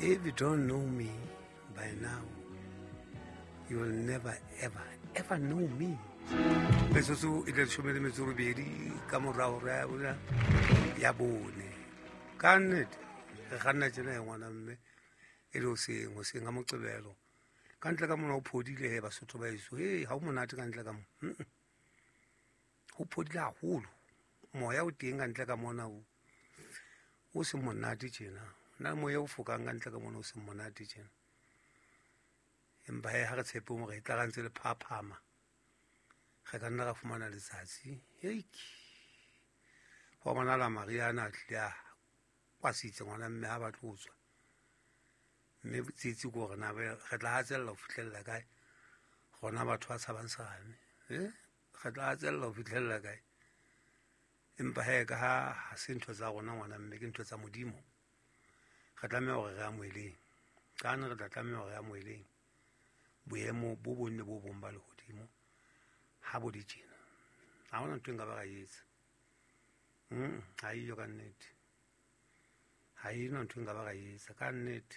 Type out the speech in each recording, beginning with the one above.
If you don't know me by now, you will never ever ever know me. Metsotso e le leshome le metso robedi ka morao re ya ya bone. Ka nnete re kganna tjena ya ngwana mme e le hoseng hoseng ha Moqebelo. Ka ntle ka mona o phodile he Basotho ba heso. Hey, ha o monate ka ntle ka mona. Ho phodile haholo. Moya o teng ka ntle ka mona o o seng monate tjena. Na moya o fokang ka ntle ka mona o seng monate tjena. Empa he ha re tshepe hore e tla ra ntse le phaphama. Re ka nna ra fumana letsatsi. Heik. Ho bonahala mariha ana a tlile a kwasitse ngwana mme ha ba tlo tswa. Mme tsietsi ke hore na re tla hatsella ho fihlella kae. Rona batho ba tshabang serame. Re tla hatsella ho fihlella kae. Empa he ka ha ha se ntho tsa rona ngwana mme ke ntho tsa Modimo. Re tlameha hore re amoheleng. Ka re tla tlameha hore re amoheleng boemo bo bong le bo bong ba lehodimo ha bo le tjena. Ha hona ntho e nka ba ra etsa. Ha eyo ka nnete. Ha ena ntho e nka ba ra etsa ka nnete.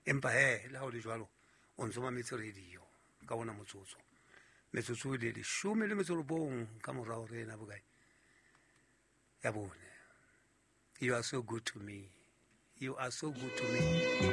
Empa he le ha o le jwalo o ntso mametse radio ka ona motsotso. Metsotso e le leshome le metso robong ka morao re ena bokae ya bone. You are so good to me. You are so good to me.